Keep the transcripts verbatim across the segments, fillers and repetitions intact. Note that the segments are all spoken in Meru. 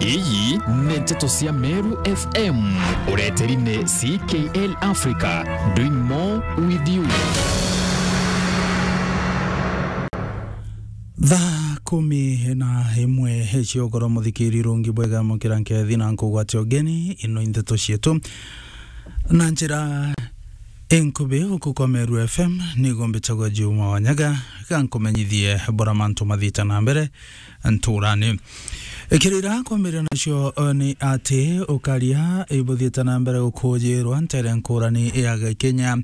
Iyi ni nteto cia Meru F M. Ureteri ni C K L Africa, doing more with you. Thaa kumi na imwe cia ugoro, muthikiri rungi bwega, mukira nkethi na nkugwatia ugeni, ino i nteto cietu. Na njira inkubi uku kwa Meru F M, nigo mbitagwa Juma Wanyaga, ga nkumenyithie bura mantu mathiite na mbere nturani. Ikirira kwambirira nacio, eh, ni ati ukaria ibuthiite na mbere gukujirwa ntere nkurani ya Kenya.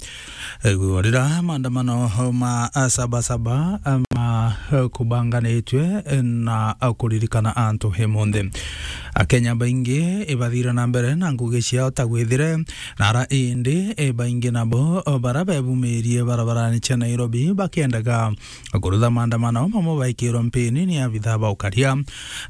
Igurira maandamano ma Saba Saba ma kubanganitwe na kuririkana antu imunthi. Akenya baingi ibathire na mbere na ngugi ciao ta gwithire nara indi baingi nabo bara bebumirie barabarani cia Nairobi bakiendaga kurutha maandamano, mamwe baikirwe mpini ni abitha ba ukaria.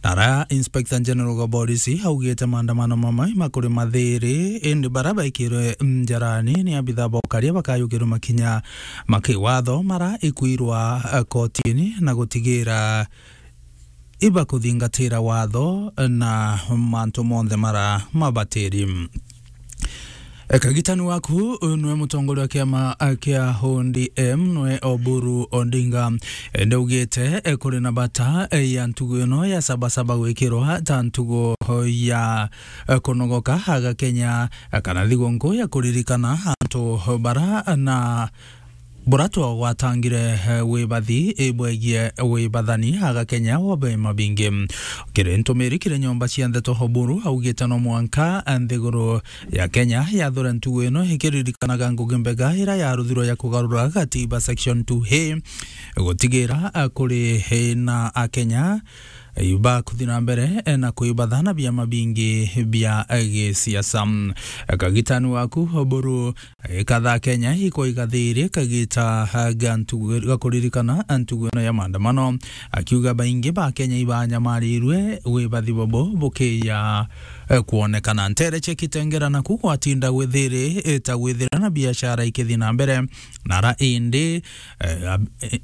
Nara Inspector General wa Borisi augite maandamano mamwe makuri mathiri, indi bara baikirwe njarani ni abitha ba ukaria bakayukirwe makinya ma kiwatho mara ikwirwa, eh, kotini na gutigira ibakuthingatira watho na mantu monthe mara mabatiri. Eh, kagitani waku, eh, nwe mutongoria wa kiama, eh, kia O D M, nwe Oburu Odinga. Eh, ndaugite, eh, kuri na bata, eh, ya ntugu ino ya Saba Saba gwikirwa ta ntugu ya, eh, kunogoka aga Kenya, eh, kana thigunku ya kuririkana antu bara na buratwa gwatangire, eh, wibathi, eh, bwegie wibathani aga Kenya wa biama bingi. Kiri ntumiri kiri nyomba cia ndeto, Oburu augite no mwanka nthiguru ya Kenya yathure ntugu ino ikiririkanaga ngugi mbega ira yaruthirwe ya kugarura gatiba section two A, gutigira, eh, kuri, eh, na Akenya, eh, bakuthi na mbere, eh, na kwibatha na biama bingi bia, eh, gisiasa. Eh, kagitani waku Oburu Ikatha Kenya ikwaiga thiri kagita ga ntugu-, ga kuririkana ntugu ino ya maandamano, akiuga baingi ba Kenya ibanyamarirwe wibathi bobo bukiya, eh, kwonekana. Ntere cia Kitengela naku gwatinda gwithiri, eh, ta gwithira na biashara ikithi na mbere. Nara indi, eh, ab-, eh,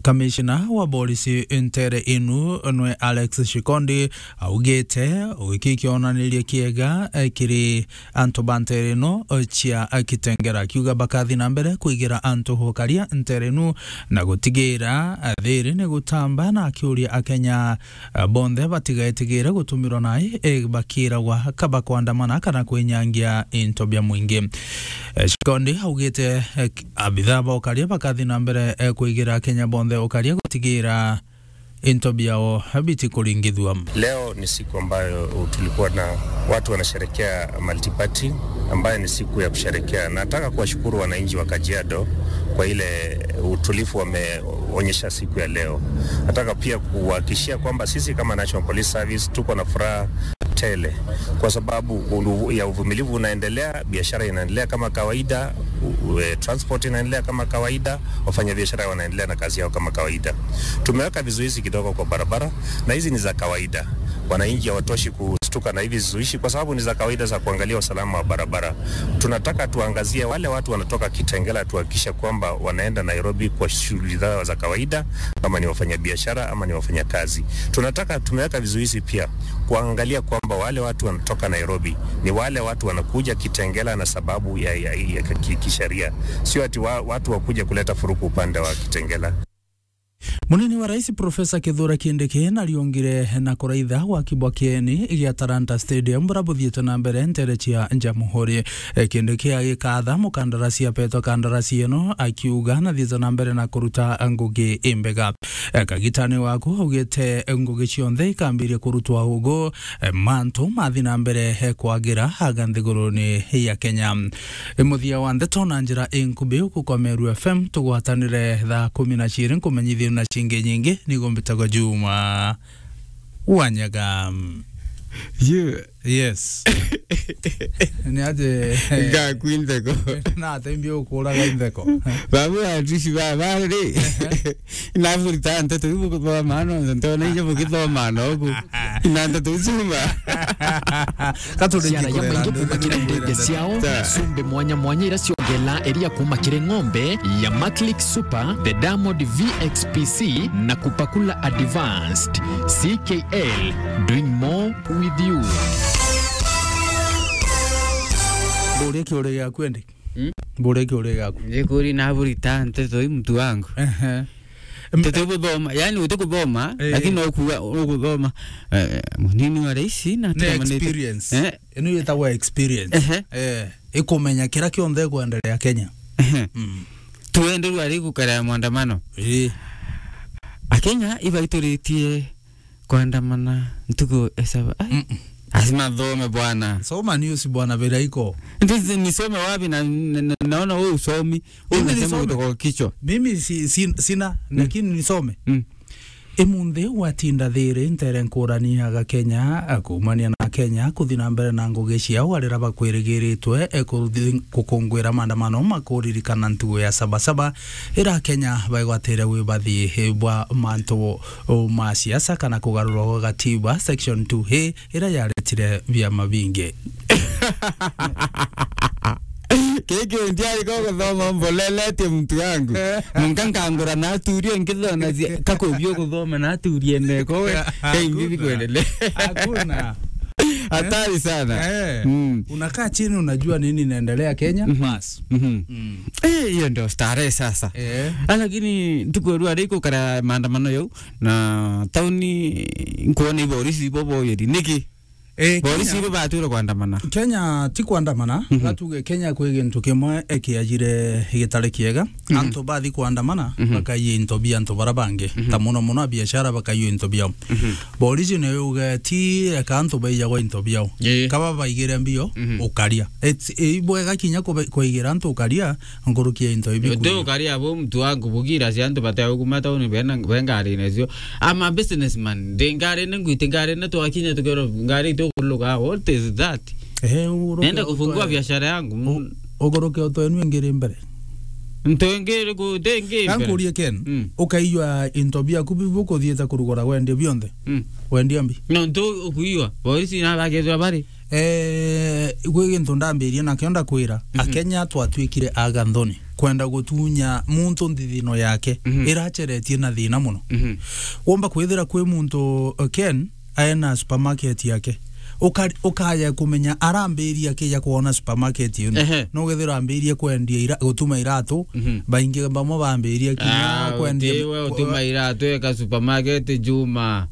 Kamishina wa borisi ntere inu nwe Alex Shikondi augite, giki kionanirie kiega, eh, kiri antu ba ntere ino, eh, cia, eh, Kitengela, akiuga bakathi na mbere kwigira antu ukaria ntere inu na gutigira, eh, thiri ni gutamba, na akiuria Akenya, eh, bonthe batigetigire gutumirwa nai, eh, bakiragwa kaba kwandamana kana kwinyangia into bia mwingi. Eh, Shikondi augite, eh, abitha ba ukaria bakathi na mbere, eh, kwigira Akenya bonthe ukaria gutigira into biao bitikuringithua. Leo ni siku ambayo tulikuwa na watu wanasherekea multiparty, ambayo ni siku ya kusherekea. Nataka kuwashukuru wananchi wa Kajiado kwa ile utulivu wameonyesha siku ya leo. Nataka pia kuhakikishia kwamba sisi kama National Police Service tuko na furaha tele kwa sababu ulu-, ya uvumilivu unaendelea, biashara inaendelea kama kawaida, u-, u-, eh, transport inaendelea kama kawaida, wafanyabiashara wanaendelea na kazi yao kama kawaida. Tumeweka vizuizi kidogo kwa barabara, na hizi ni za kawaida. Wananchi hawatoshi kustuka na hivi vizuizi kwa sababu ni za kawaida za kuangalia usalama wa barabara. Tunataka tuangazie wale watu wanatoka Kitengela, tuhakikishe kwamba wanaenda Nairobi kwa shughuli zao za kawaida, kama ni wafanyabiashara ama ni wafanyakazi. Tunataka, tumeweka vizuizi pia kuangalia kwamba wale watu wanatoka Nairobi ni wale watu wanakuja Kitengela na sababu ya, ya, ya ki-, kisheria, sio ati wa-, watu wakuje kuleta furuku upande wa Kitengela. Munini wa Rais Profesa Kithure Kindiki nariongire na kuraitha gwaki bwa kieni gia Talanta Stadium buria buthiite na mbere ntere cia Jamhuri. E, Kindiki agikatha mukandarasi apetwe kandarasi ino, akiuga nathiite na mbere na kuruta ngugi imbega. E, kagitani waku augite ngugi cionthe ikambiria kurutwa ugu, e, mantu mathi na mbere, e, kwagira aga nthiguruni ya Kenya. E, muthia wa ndeto na njira inkubi uku kwa Meru F M, tugwatanire thaa kumi na ciiri nkumenyithie na cingi nyingi, nigo mbitagwa Juma Wanyaga. You. Yes. Ni aje? Ngaku intheko. Na atembi ukuraga intheko. Babu atushi baba ri. Na burita nteto ibu kwa maana, ntona inje bukithoma nogu. Na ndeto icio ma. Ka turi Ciara ya kikurera maingi ndu- kuma kiri ndege ciao, Sawa. Cumbi mwanya mwanya ira ciongela iria kuma kiri ng'ombe ya Maclick Super, the Diamond V X P C na Kupakula Advanced. C K L, doing more with you. Mburie kiuria giaku endi. Hmm? Mburie kiuria giaku. Njikuri na burita nteto i mtu wangu. Ehe. Nteto buthoma, yani uti kuthoma, Eh. Lakini no kuga ukuthoma. Eh, munini wa raisi na Ni tumanite. Experience. Eh. Ino yetagwa experience. Ehe. Eh, ikumenya kira kionthe ikwendelea Kenya. Ehe. Mm. Tuenderwa ari gukara maandamano. Eh. Akenya ibaituritie kuandamana ntuku esaba. Ai. Mm-mm. Lazima thome bwana. Soma news bwana, vira iko. Ndio nisome wapi na, na, na, naona wewe usomi. Wewe Mimi unasema nisome. Kutoka kichwa. Mimi si, si, sina, Mm. Lakini nisome. Mm. Imunthi gwatinda thiri ntere nkurani ya Gakenya, akuumania na Kenya, kuthi na mbere na ngugi ciao arira bakwirigiritwe, e, kuthi gukungwira maandamano makuririkana ntugu ya Sabasaba, ira Akenya baigwatire wibathi bwa mantu, o, ma siasa kana kugarurwa gwa gatiba, section two A, ira yaretire biama bingi. Kiki ndiari ko guthoma mboleletie mtu wangu. Eh. Munka nkangura naturie nkithona zi-, kakubio guthoma naturie neko we. Hakuna. Kaimbibi kuendelea. Hakuna. Hatari sana. Eh. Mm. Unakaa chini, unajua nini inaendelea Kenya? Mhm. Bas. Mhm. Mm. Eh, hiyo ndio starehe sasa. Eh. Ah, lakini ntuku ya rua riko kara maandamano yau na tauni nkuona iborisi ibo boyeri. Niki? Eh, Polisi Kenya, ibo batwire kuandamana. Kenya ti kuandamana, Mhm. Gatuge Kenya kwi gintu kimwe ekiajire gitari kiega. Mhm. Antu bathi kuandamana, Mhm. Bakaiya into bia antu bara bangi. Mhm. Ta muno muno abiashara bakaiya into biao. Mhm. Polisi ni yuge ti eka antu baijagwa into biao. Ii. Kaba baigire mbio, Mhm. Ukaria. It's, i bwega kinya kube-, kwaigira antu ukaria, nkuruki ya into ibi. Uti ukaria bo mtu wangu bugira cia antu bategukuma tauni bena, be ngari nacio. I'm a businessman. Ndi ngari ni ngwiti ngari ni twakinya tukero ngari tukuluga. What is that? Eh, uguruke Nenda kufungua utwe-, biashara yangu. U-, uguruke utwenue ngiri mbere. Ntu ngiri ku-, ti ngiri mbere. Kankurie Ken, Mm. Ukaiywa into biaku bibu kuthiite kurugura wendia bionthe. Mm. Wendia mbi. No ntu ukuiywa. Boisi na bagethwa bari. Eh, gwi gintu ndambirie nakio ndakwira, Mhm. Akenya twatuikire aganthoni, kwenda gutunya muntu nthithino yake, Mhm. Iraceretie na thina muno. Mhm. Womba kwithira kwi muntu, uh, Ken, aena supermarket yake. Uka-, ukaya kumenya arambiria kija kwona supermarket ino. Ehe. No gethira ambirie kwendia ira-, gutuma iratu, Mhm. Baingi bamwe bambirie kinya Ah, kwendia utiwe ku-, utuma iratu eka supermarket Juma.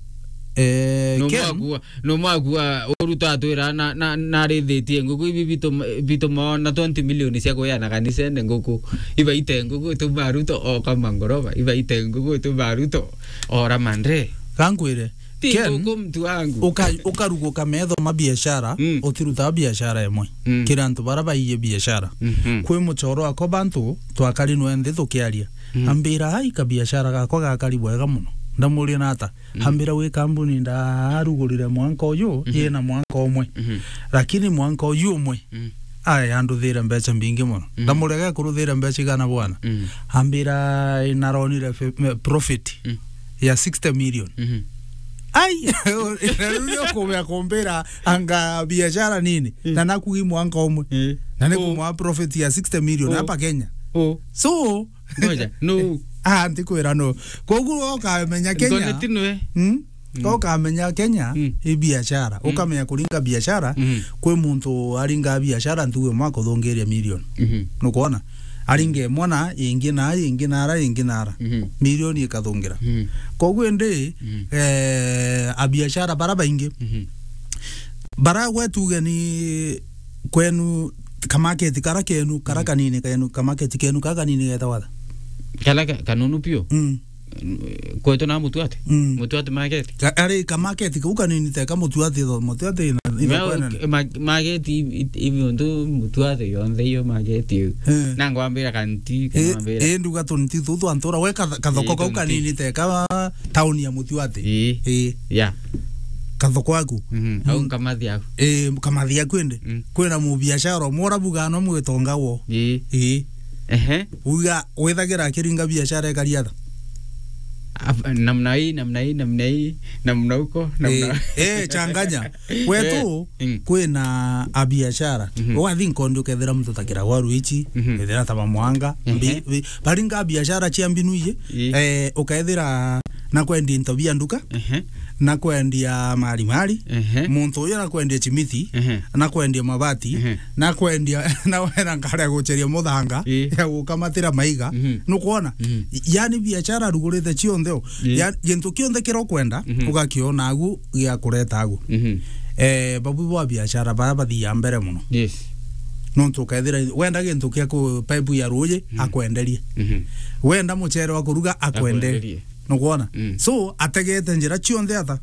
Eh, No Ken, mwakua No mwakua uruta atwira na, na, narithitie nguku ibi bitu-, bitumaona twenty million cia kuheana kanisene nguku. Ibaite nguku ituma Ruto oka mangoroba. Ibaite nguku ituma Ruto ora mandre. Kankwire, Ti Ken, nguku mtu wangu. Uka-, ukaruguka metho ma biashara, Mm. Utiruta biashara imwe. Mm. Kira antu bara baiye biashara. Mhm. Kwi muchoro ako bantu twakari nwe nthi tukiaria. Mm. Ambira, "Ai, kabiashara gakwa gakari bwega muno." Ndamuria, "Nata?" Mm. Ambira, "Wi kambuni ndarugurire mwanka uyu, Mhm. Yina mwanka umwe. Mhm. Lakini mwanka uyu umwe, Mm. Ai, anduthire mbeca mbingi muno." Mm. Ndamurega kuruthira mbeca igana bwana. Mm. Ambira, "Inaronire fe-, me-, profit Mm. ya sixty million." Mhm. Ai, na riu ni ukumea kumbira anga biashara nini? Mm. Na nakugi mwanka umwe. Eh. Na ni Oh. Kumwa profit ya sixty million Oh. Hapa Kenya. Oh. So, Ngoja, no. Ah, ntikwira no. Koguo ukamenya Kenya. Ngone ti nwe. Hmm? Mm. Ukamenya Kenya, Mm. I biashara. Mm. Ukamenya kuringa biashara, Mm. Kwi muntu aringa biashara ntuge mwaka uthungiria million. Mhm. Nukwona? Aringe mwana, ingi na, ingi nara, ingi nara. Mhm. Million ikathungira. Mhm. Koguo indi, Mm. Eh, abiashara bara baingi. Mhm. Bara gwe tuge ni kwenu kamaketi kara kenu, kara Mm. Kanini kenu, kamaketi kenu kara kanini getagwa atha? Kara ka-, kanunu piu? Mm. Kwetu na Mutuati? Mm. Mutuati market? Ka-, ari kamaketi kau kanini teka Mutuati tho, Mutuati na, ina Mea-, kwenene. Ma-, market i-, i-, ibi untu Mutuati yonthe iyo market iyo. Eh. Na ngwambira kanti, Eh, ngwambira. Eh, nduga tunti tu twa ntura, we katha-, kathoko Eh, kau tunti. Kanini teka tauni ya Mutuati. Eh. Eh. Ya. Kathoko aku. Mhm. Au Mm. Kamathi aku. Eh, Kamathi aku indi. Mm. Kwina mubiashara umwe urabuga no mwitonga wo. Ii. Ii. Ehe. Uga withagira akiringa biashara ekari atha? Af-, namna hii, namna hii, namna hii, namna huko, namna Eh, eh, changanya. Wetu, Eh, mm. kwina a biashara. Mhm. Ugathi nkondi ukethira muntu ta Kiragwa Ruichi, Mhm. ethira ta Bamwanga, Ehe. mbi-, bi-, baringa biashara cia mbinu iji, Ii. eh, ukethira na kwendia into bia nduka, Ehe. na kwendia mari mari, Ehe. muntu uyu na kwendia chimiti, Ehe. na kwendia mabati, Ehe. na kwendia, na wena nkare ya gucheria muthanga, Ii. ya gukamatira maiga. Mhm. Nukwona? Mhm. Yani biashara arugurite cionthe o. Ii. Ya, gintu kionthe kira ukwenda, Mhm. ugakiona agu gia kureta agu. Mhm. Eh, babu ba biashara bara bathia mbere muno. Yes. Nontu ukethira wenda gintu kia ku-, pipe ya ruuji, Mhm. akwenderie. Mhm. Wenda muchere wa kuruga, akwenderie. Akwenderie. Nukwona? Mm. So, ategete njira cionthe ata?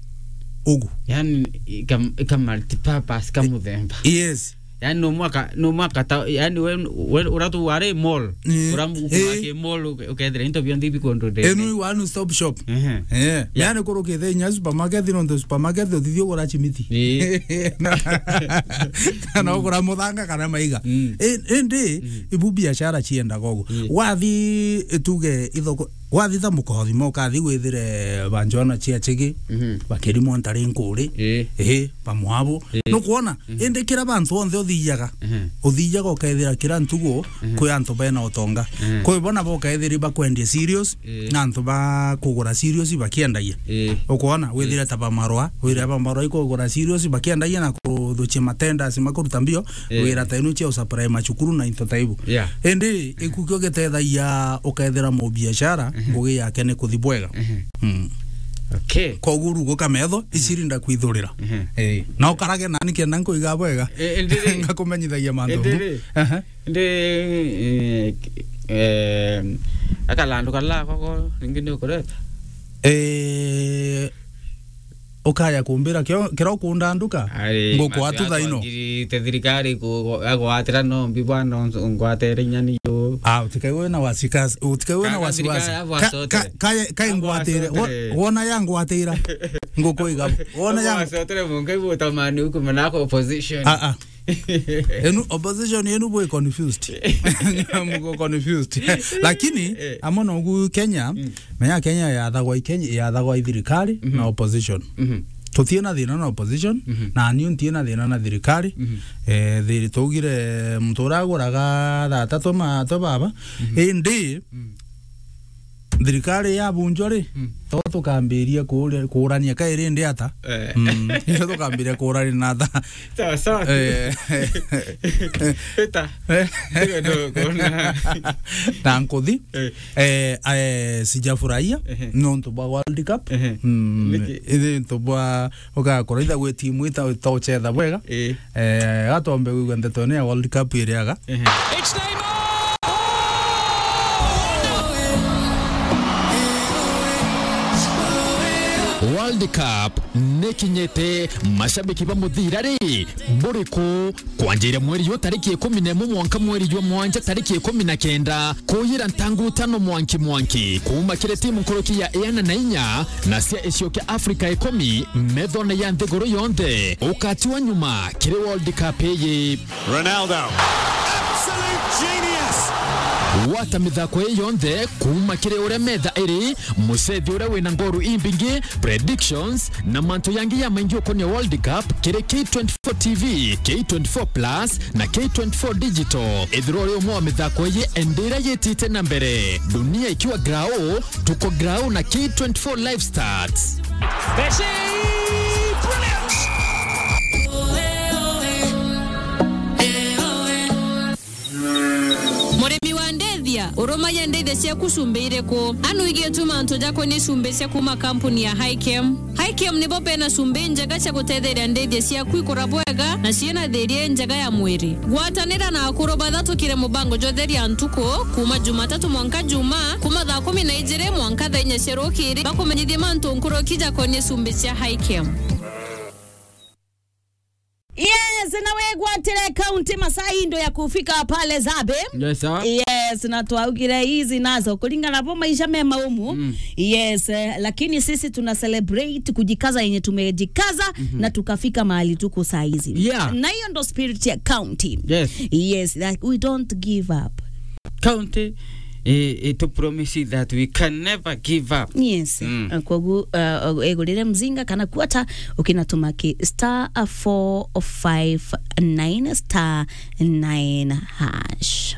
Ugu. Yani, ika, ika multipurpose, ka muthemba. Yes. Yani, no mwaka, no mwaka ta, yani, we, we, uratu wari mall. Mm. Uramu Eh. ki mall, uke-, ukethira into bionthe ibikundu ndene. Enu one stop shop. Ehe. Eh. Yeah. Yani, kurukite inya supermarket, nontu supermarket utithio kugura chimiti. Eh. Na, kana kugura muthanga kana maiga. Mm. I-, indi, Mm. ibu biashara ciendaga ugu. Mm. Wathi, tuge, ithoko, wathi ta mukothima, ukathi withire ba Joana cia Chigi, Mhm. ba Kirimo Ntari Nkuri, Ii. ii, ba Mwabu. Ii. Nukwona? Mhm. Indi kira bantu onthe uthiaga, Mhm. uthiaga ukethira kira ntugu Mhm. kwi antu bena utonga. Mhm. Kwi bona bo ukethiri bakwendia cereals, Ii. na antu ba kugura cereals bakiendagia. Ii. Ukwona? Withire ta ba Marwa, withire ba Marwa ikugura cereals bakiendagia na kuthuchia matenders makuruta mbio, Ii. wira ta inu cia usupply machukuru na into ta ibu. Yeah. Indi, iku kio gitethagia ukethira mubiashara, Mhm. ngugi yake ni kuthi bwega. Mhm. Mm. Okay. Koguo ruguka metho, icirinda kwithurira. Mhm. Eh, na ukarage nani kenda nkuiga bwega. Eh, indi ri? Ngakumenyithagia mantu. Indi ri? Aha. Indi, eh, eh, akalandu kala koko, ringi ni ukureta? Eh, ukaya kumbira kio, kira ukunda nduka? Ari, ngukwa tu thaino. Ngiri te thirikari ku-, agwatira no mbi bwana, ngwatire inya ni yo. Ah, utikaigwe na wasikas-, utikaigwe na Ka-, wasiwasi. thirikari abo Ka-, asotere. ka-, kaye-, kaye Abo ngwatire. Wo-, asotere. wona ya ngwatira. Ngukuiga. Wona ya Abo asotere mungai butamani huku manako opposition. Ah, ah. Enu opposition yenu bwe confused. Mko confused. Lakini, Eh. amo no gu Kenya, Mm. menya Kenya yathagwa i Kenya, yathagwa i thirikari Mhm. na opposition. Mhm. Tutie na thina na opposition, Mhm. na niu ntie na thina na thirikari. Mhm. Eh, thiri tugire muntu uraguraga thaa tatu ma, to baba. Mhm. Indi, Mm. thirikari yabunjwa ri, Mm. to tukambiria kuure-, kuurania kairi ndi ata? Eh. Mm. Ndio tukambiria kuurania na ata? Sawa, sawa. Eh. Eta. Eh. Ndio, ndio, kuona. Na nkuthi, Eh. eh, eh, sijafurahia, Ehe. nontu bwa World Cup. Ehe. Mm. Niki? Ithi ntu bwa Ugakorwo itha gwi timu ita-, itochetha bwega. Ii. Eh, gatombe gwigua ndeto ino ya World Cup iriaga. Ehe. It's Neymar! World Cup nikinyite, mashabiki ba muthira ri, buriku? Kwanjiria mweri jwa tariki ikumi na imwe mwanka mweri jwa mwanja tariki ikumi na kenda, kuyira ntangu tano mwanki mwanki, kuuma kiri timu nkuruki ya iana na inya na cia icio kia Afrika ikumi, methone ya nthiguru yonthe, ukatiwa nyuma kiri World Cup iyi. Ronaldo. Absolute genius. Gwata mithako ii yonthe kuuma kiri uria metha iri, mucethi uria wina ngoru imbingi, predictions, na mantu yangi ya maingi ukonia World Cup kiri K twenty-four T V, K twenty-four Plus na K twenty-four Digital. Ethirwa uri umwe wa mithako iyi indi iria yitite na mbere, dunia ikiwa grau, tuko grau na K twenty-four Live Stats. Messi! Brilliant! Murimi wa ndethia, urumagia ndethia ciaku cumbi iriku? Anu igitu mantu jakonie cumbi cia kuma kampuni ya Hikem. Hikem nibo bena cumbi njega cia gutetheria ndethia ciaku ikura bwega na ciina thiria njega ya mwiri. Gwatanira na akuru bathatukire mubango jwa Theria Ntuku, kuma Jumatatu mwanka Juma, kuma thaa kumi na ijiri mwanka thaa inya cia rukiri, bakumenyithie mantu nkuruki jakonie cumbi cia Hikem. Yes, na wegwatire kaunti masaa indo ya kufika pale Zabe. Yes, sir. Yes, na twaugire hizi nazo kulingana bo maisha mema umu. Mm. Yes, eh, lakini sisi tuna celebrate kujikaza yenye tumejikaza Mhm. na tukafika mahali tuko saa hizi. Yeah. Na hiyo ndo spirit ya county. Yes. Yes, that we don't give up. County i, i to promise that we can never give up. Yes. Mm. Uh, kogu, uh, igurire mzinga kana quarter, ukinatuma ki star four five nine star nine hash.